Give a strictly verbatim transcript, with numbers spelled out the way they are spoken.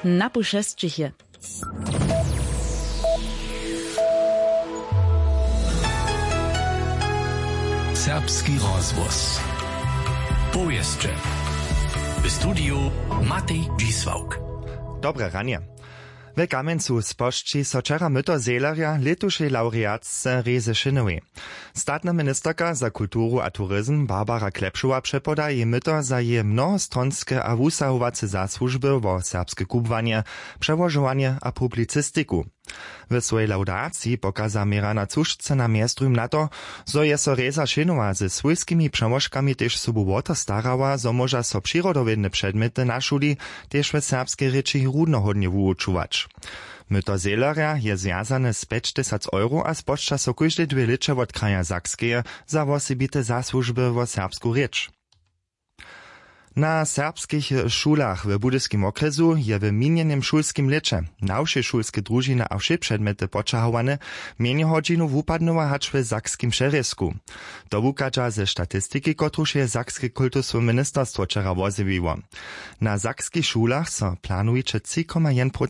Na pušesćich je. Serbski rozhłos. Powěsće. W studiju Matej Dźisławk. Dobre ranje. We Kamjencu spožči so wčera myto zehlerja lětušej lawreatce Rězy Šěnowej. Statna ministerka za kulturu a turizm Barbara Klepšowa přepoda jej myto za jeje mnohostronske a wusahowace zasłužby wo serbske kubłanje, přełožowanje a publicistiku. W swojej lawdaciji pokaza Mirana Cušce na mjezdruhim na to, zo je so Rěza Šěnowa ze swójskimi přełožkami tež sobu wo to starała, zo móža so přirodowědne předmjety na šuli tež w serbskej rěči runohódnje wuwučować. Myto zehlerja je zwjazane z pjećtysac euro a spožča so kóžde dwě lěće wot kraja Sakskeje za wosebite zasłužby wo serbsku rěč. Na serbskich šulach w Budyskim wokrjesu je w minjenym šulskim lěće na wšě šulske družiny a wšě předmjety poćahowane mjenje hodźinow wupadnyła hač w sakskim přerězku. To wuchadźa ze statistiki, kotruž je sakske kultuswe ministerstwo wčera wozjewiło. Na sakskich šulach so planujuće tři koma jedyn